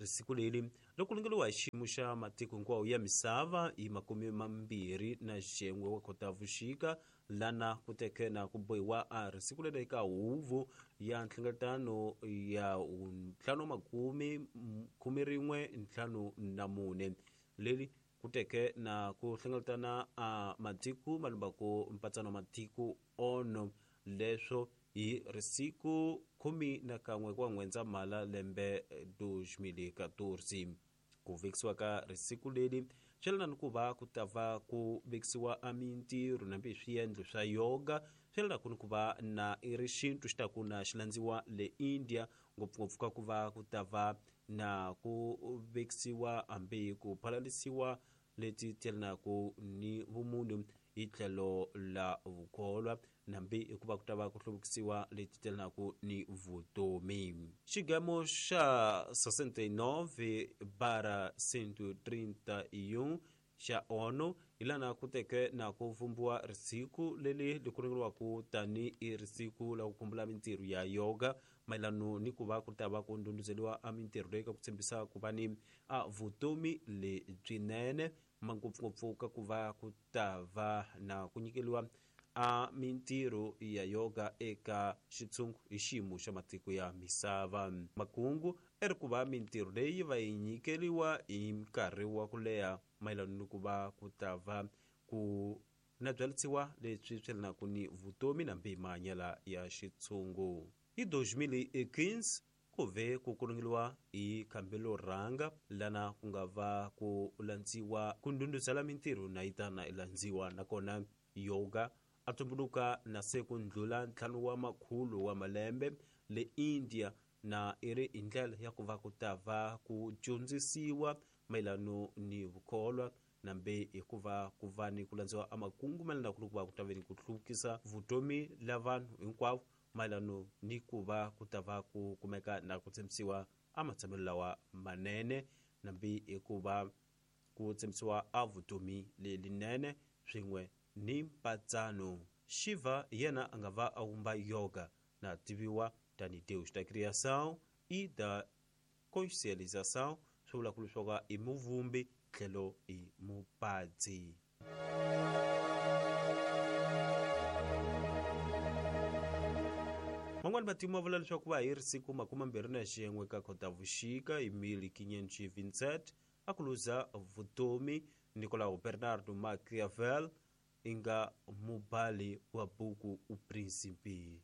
Siku leri loko lungeliwa hi xiyimo xa matiko hinkwawo ya misava hi 21 wa Khotavuxika, lana ku teke na ku bohiwa a ri siku leri eka huvo ya nhlengeletano ya 514 leri ku teke na ku hlengeletana a matiko malumbaku mpatsano wa matiko ONU, leswo hi risiku 11 kwa N'wendzamhala lembe 2014. Ku vekisiwa ka risiku leri swi yelana ni ku va ku ta va ku vekisiwa a mintirho nambi swiendlo swa yoga, swi yelana ku ni ku va na i ri xintu xi ta ku na xi landziwa le India, ngopfungopfu ka ku va ku ta va na ku vekisiwa hambi ku phalalisiwa leti tyelanaka ni vumunhu hi tlhelo la vukholwa, nambi hikuva ku ta va ku hluvukisiwa leti tyelanaka ni vutomi. Xigemo xa 69/131 xa ONU hi lana ku teke na ku vumbiwa risiku leri li kuringeriwaka tanihi risiku la ku khumbula mintirho ya yoga, mayelano ni ku va ku ta va ku ndhundhuzeliwa a mintirho leyi ka ku tshembisa ku va ni a vutomi lebyinene, ngopfungopfu ka ku va ku ta va na ku nyikeliwa a mintirho ya yoga eka xitshungu hi xiyimo xa matiko ya misava. Makungu i ri ku va mintirho leyi va yi nyikeriwa hi nkarhi wa ku leha mayelana ni ku va ku ta va ku na byalisiwa leswi swi yelanaka ni vutomi na mahanyelo ya xitshungu. Hi 2015 ku ve ku kulungeliwa hi khambelo rhanga lana ku nga va ku landziwa ku ndhundhuzela mintirho na yi ta na yi landziwa, nakona yoga a tumbuluka na se ku ndlula 5 wa makhulu wa malembe le India, na i ri hi ndlela ya ku va ku ta va ku dyondzisiwa mayelano ni vukholwa, nambe hikuva ku va ni ku landziwa a makungu mayelana ku va ku ta ve ni ku hluvukisa vutomi la vanhu hinkwavo, mayelano ni ku va ku ta va ku kumeka na ku tshembisiwa a matshamelo lawa manene, nambi hikuva ku tshembisiwa a vutomi lelinene swin'we ni mpatsano. Shiva hi yena a nga va a vumba yoga na tiviwa tanihi Deus da criação e da consciencialização, swi vula ku leswaku i muvumbi tlhelo i mupadzi. Van'wani vativi va vula leswaku va hi ri siku 21 ka Khotavuxika hi 1527 a ku luza vutomi Nicolau Bernardo Machiavel, i nga mubali wa buku O Príncipe.